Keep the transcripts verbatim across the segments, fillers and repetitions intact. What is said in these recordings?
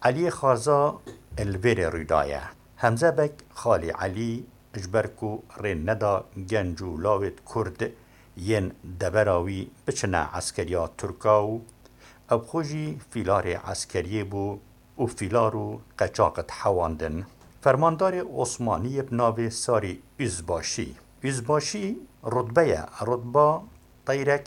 Eliyê Xarza li vêrê rû daye. Hemze Beg xalê Elî ji ber ku rê neda genc û lawêt Kurd yên devera wî biçine eskeriya Tirka û ew xwe jî fîlarê eskeriyê bû û fîlar û qeçaq dihewandin. Fermandarê Osmaniyê bi navê Sarî Üzbaşî. Üzbaşî rutbe ye, rutba teyrek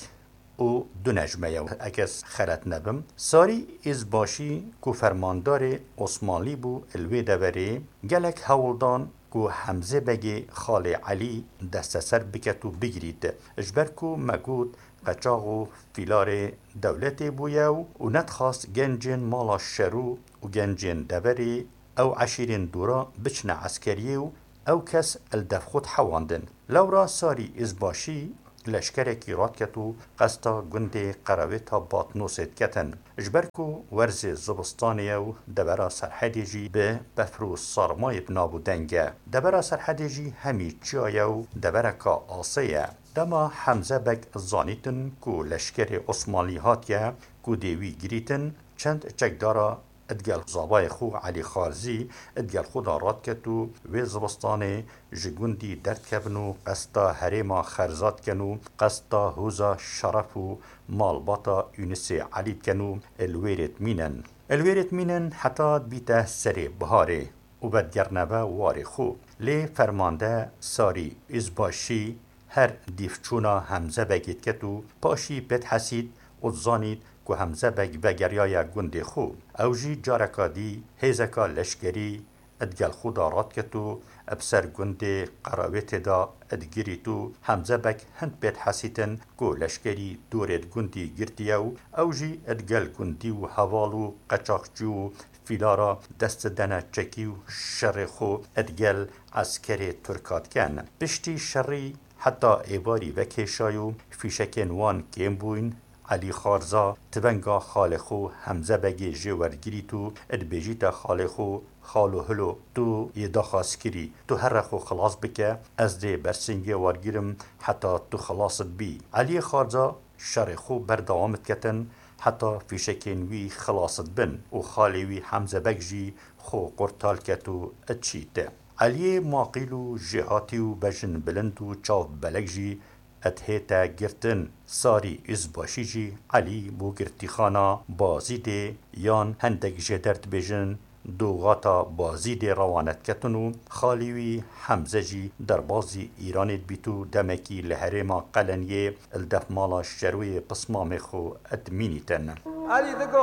û du nejme ye, eke ez xelet nebim. Sarî Üzbaşî ku fermandarê Osmanlî bû li wê deverê, gelek hewl dan ku Hemzê Begê xalê Elî desteser biket û bigirît. Ji ber ku me got qeçax û fîlarê dewletê bûye û, û nedixwast gencên mala şerû û gencên deverê ew eşîrên dûra biçine eskeriyê û ew kes li dev xwe dihewandin. Lewra Sarî Üzbaşî leşkerekî radiket û qesta gundê Qerawêta Batnosê diketin. Ji ber ku werzê zivistanê ye û devera Serhedê jî bi befr û sarmayê bi nav û deng e. Devera Serhedê jî hemî çiya ye û devereka asê ye. Dema Hemze Beg zanîtin ku leşkerê Osmanlî hatiye ku dê wî girîtin, çend çekdara digel zavayê xwe Elî Xarzî digel xwe de radiket û wê zivistanê ji gundî derdikevin û qesta herêma Xerza dikin û qesta hûza Şeref û malbata Yûnisê Elî dikin û li wêrê dimînin. Li wêrê dimînin heta dibîte serê biharê û vedigerne ve warê xwe. Lê fermande Sarî Üzbaşî her dîvçûna Hemze Begê diket û paşî pê dihesît û dizanît ku Hemze Beg vegeriyaye gundê xwe. Ew jî careka dî hêzeka leşkerî digel xwe de radiket û bi ser gundê Qerawêtê de digirît û Hemze Beg hin pê dihesîtin ku leşkerî dorê di gundî girtiye û ew jî digel gundî û heval û qeçaxçî û fîlara dest didene çekî û şerê xwe digel eskerê Tirka dikin. Piştî şerî heta êvarî vekêşay û fîşekên wan kêm bûyn, Elî Xarza tivenga xalê xwe Hemze Begê jê werdigirît û dibêjîte xalê xwe, Xalo hilo, tu yê daxwaz kirî, tu here xwe xilas bike, ez dê bersingê wergirim heta tu xilas dibî. Eliyê Xarza şerê xwe berdewam diketin heta fîşekên wî xilas dibin û xalê wî Hemze Beg jî xwe qurtal ket û diçît. Eliyê maqîl û jêhatî û bejin bilind û çav belek jî dihête girtin. Sarî Üzbaşî jî Elî bo girtîxana Bazîdê yan hindek jêder dibêjin Dogata Bazîdê rewanet ketin û xalî wî Hemze jî derbazî Îranê dibît û demekî li herêma Qeleniyê li def mala şerwiyê pismamê xwe dimînîtin. Elî digo